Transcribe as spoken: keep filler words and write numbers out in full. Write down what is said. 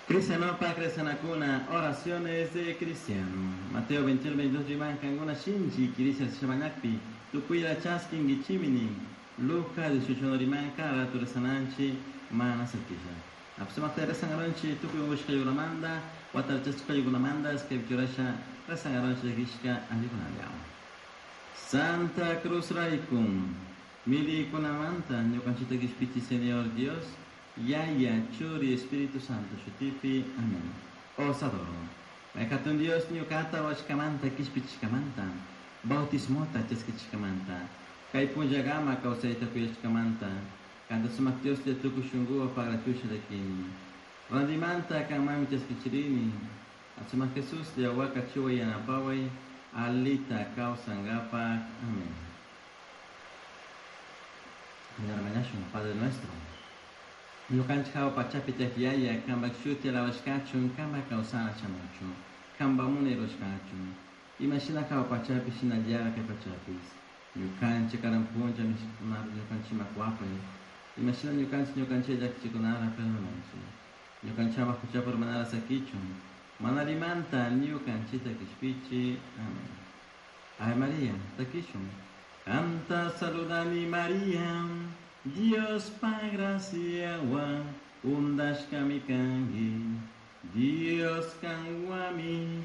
Cristianopa cristianakuna, oraciones de cristiano. Mateo veintiuno, veintidós riman kankuna shinchi kirisha shamañakpi, tukuyla chaskinkichimi. Lucas dieciocho riman kana ratu rezananchi mana sakisha. Apsumakta rezangaronchi tukuy ungushkaykunamanta, watarchashkaykunamanta, escriturasha rezangaronchi llakishka allikunalla. Santa Cruz raykun, milikunamanta ñukanchita kishpichi Señor Dios, Yaya, Churi, Espíritu Santo, shutipi, amén. Os adoro. Hatun Dios ñukata washkamanta kishpichishkamanta, bautismota chaskichishkamanta, kay punllagama kawsayta kuyashkamanta, kanta sumak Dios tukuy shunkuwan pagrachusha llakini. Randimanta kanmanmi chaskichirini, Sumak Jesús waka chuwa yanapaway, alita kawsankapak. Amén. Mañashun, Padre nuestro. Ñukanchik hawa pachapi tiyak Yaya, kanpak shuti alabashkachun, kanpak kawsana shamuchun, kanpak munay rurashkachun. Imashina hawa pachapi shinallara kay pachapis. Ñukanchik karan punlla mishkikunata ñukanchikman kuwapay. Imashina ñukanchik ñukanchik llakichikunata perdonanchik. Ñukanchik ama huchapi urmanara sakichun. Mana allimanta ñukanchikta kishpichi. Amén. Ave María, takishun. Kanta saludani María, Diospa graciawan undashkami kanki. Dios kanwami